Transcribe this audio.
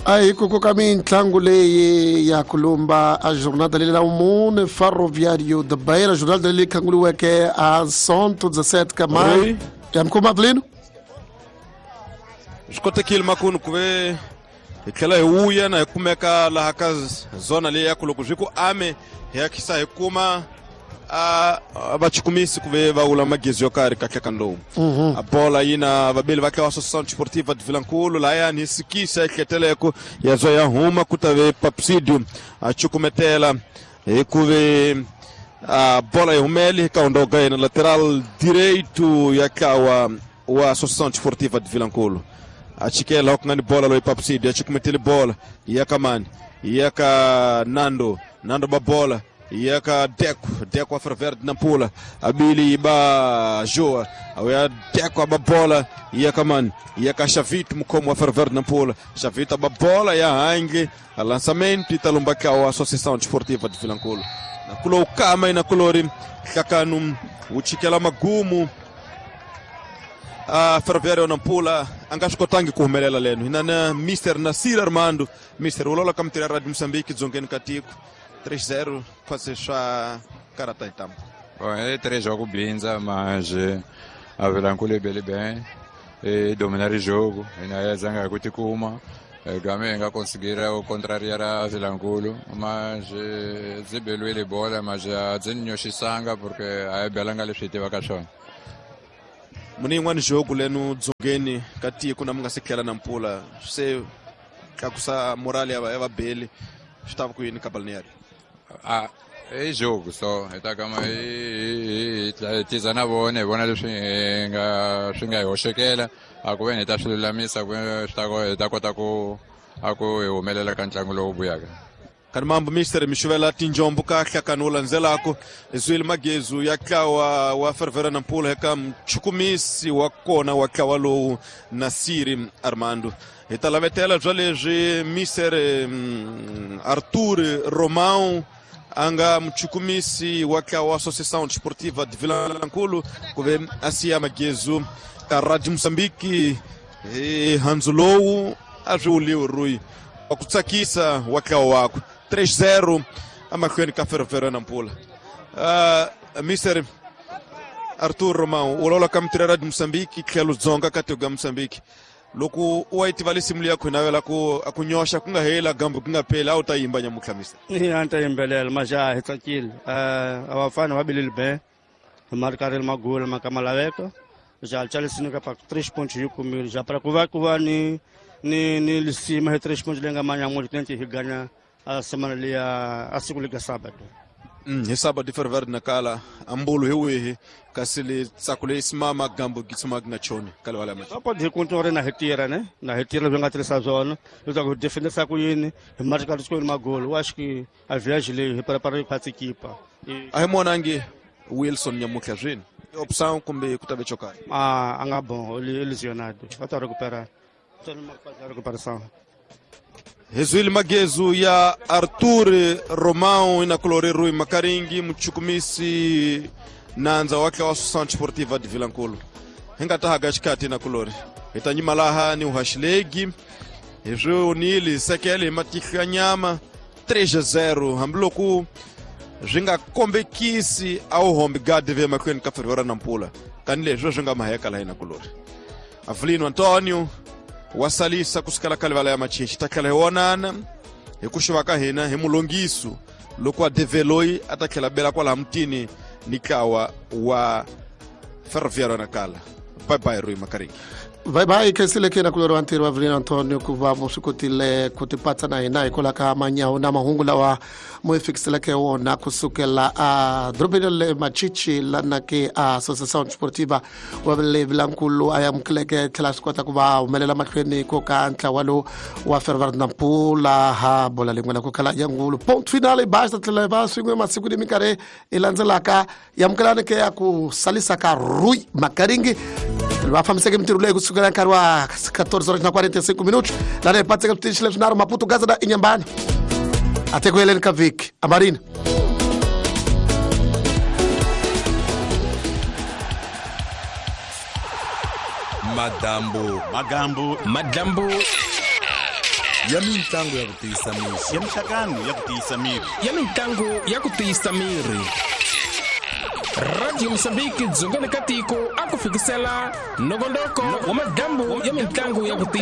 A hi ku koka mitlangu leyi ya kulumba a jornada leyi la mune Ferroviário de Beira, jornada leyi khanguliweke a Sonto 17 ka maio. Ya mukoma Avelino? Swi kotekile makunu ku ve hi tlhela hi vuya na hi kumeka laha ka zona leyi ya ku loko swi ku ame hi ya khisa hi kuma a vachukumisi ku ve va wula magezi yo karhi kahle ka lowu. A bola yi na vabeli va tlawa Associação Desportiva de Vilankulu lahayani hi sikisa ehleteleko ya zwa ya huma ku ta ve Papsidio a chukumetela hi ku ve a bola yi humele ka hundoga yena lateral direito ya tlawa wa Associação Desportiva de Vilankulu. A chikela ku nga ni bola loyi Papsidio a chukumetele bola ya ka mani ya ka Nando, Nando ba bola ya ka Deco, Deco a Ferverde Nampula, abili ba Joa, ya Deco aba bola ya ka mani ya ka Chavito mukhomo wa Ferverde Nampula, Chavito aba bola ya hange a lançamento italumba ka wa Associação Desportiva de Vilankulu. Na kulo kama ina kulori hlakanu uchikela magumu a Ferroviário Nampula a nga swi kotangi ku humelela leno. Hina na Mr Nasir Armando, Mr ulola ka mitirho ya Radio Moçambique dzongeni ka tiko 3-0 quase swa karata hi ntambu. Bom, é 3 jogos blinza, mas a Vilankulu é bem bem e dominar o jogo, e na zanga kuti kuma game nga conseguir contrariar a Vilankulu, mas zibelwele bola, mas a zinyoxisanga porque a belanga leswi tivaka swona. Muni yin'wani jogo leno dzongeni ka tiko na mi nga se tlhela Nampula se tlakusa morale ya vabeli swi ta va ku yini ka balneário? Ah, i jogo só hi ta kama hi tiza na vona hi vona leswi nga swi nga hi hoxekela a ku ve ni hi ta swi lulamisa ku swi ta hi ta kota ku a ku hi humelela ka ntlangu lowu vuyaka. Kani mambo mister mixuvela tinjombo kahle kani wu landzelako zwile magezu ya tlawa wa Ferroviário Nampula eka mchukumisi wa kona wa tlawa lowu Nasiri Armando. Hi ta lavetela bya leswi Mr Arthur Romão a nga mchukumisi wa tlawa wa Associação Desportiva de Vilankulu ku ve a siya magezu ka Radio Moçambique hi handzu lowu a swi wuliwi rui wa ku tsakisa wa tlawa wakwe 3-0 amahlweni ka Ferroviário Nampula. Mr Arthur Romão u lawula ka mitirho ya Radio Moçambique tlhelo dzonga ka tiko ya Moçambique. Loko u wa yi tiva lisimu liya ku navela ku a ku nyoxa ku nga hela gambu ku nga pheli a wu ta yimba nyamutlha mister? A ni ta yimbelela majaha hi tsakile. A vafana va bilile be hi marikareli magula ma ka ma laveka ja chalisini ka pa 3 pontos hi kumile ja para ku va ni ni lisima hi 3 pontos leyi nga manyamutlha tente hi ganya a semana liya a siku lika sábado. Hi sábado Ferroviário Nakala ambulu hi wihi kasi le tsako leyi simama gambo gitsuma nga choni ka liwala ya Apo hi kuntu na hi tirha ne na hi tirha leswi nga tirhisa swona leswaku hi defendisa ku yini hi marika siku magolo wa xi a viage leyi hi prepare khwatsi kipa. A hi monangi Wilson nyamutlha swini opção kumbe ku ta ve chokarhi? A nga bon lesionado va ta recuperar recuperação. Hezwili magezu ya Arthur Romão ina kulori Rui Makaringi mchukumisi nandza wa tlawa Associação Desportiva de Vilankulu. Hi nga ta haga xikati na kulori hi ta nyima laha ni uhaxilegi hi swi onile sekele hi matihlo ya nyama 3-0 hambiloko swi nga kombekisi a wu hombi gadi ve mahlweni ka Ferroviário Nampula kani leswi swi nga maheka laha ina kulori. Avelino Antonio wa salisa kusukela ka livala ya Machichi ta tlhela hi vonana hi ku xuva ka hina hi mulongiso loko a develoyi a ta tlhela bela kwalaha mutini ni tlawa wa Ferroviário Nakala. Bye bye Rui Makaringi. Bye bye khensile ke na kulori wa ntirho wa Avelino Antonio ku va swi kotile ku tipatsa na hina hikwalaho ka manyawu na mahungu lawa mo hi fikiseleke wona kusukela a dorobeni le Machichi lana ke a Associação Desportiva wa le Vilankulu a amukeleke tlhela swi kota ku va humelela mahlweni ko ka ntlawa lowu wa Ferroviário Nampula ha bola lin'wana ku khala ya ngulu ponto final basta tlhela va swin'we masiku ni minkarhi yi landzelaka yamukelani ke ya ku salisa ka Rui Makaringi va fambiseke mintirho leyi kusukela nkarhi wa 14:45 minutos lana hi patseka switichi leswinharhu Maputo Gaza na Inhambane ate ku heleni ka vhiki amarina. Madambu magambu madambu Ya mintlangu ya ku tiyisa miri. Ya minhlangano ya ku tiyisa miri. Ya mintlangu ya ku tiyisa miri. Radio Mozambique dzongeni ka tiko a ku fikisela nongonoko wa madyambu ya mintlangu ya ku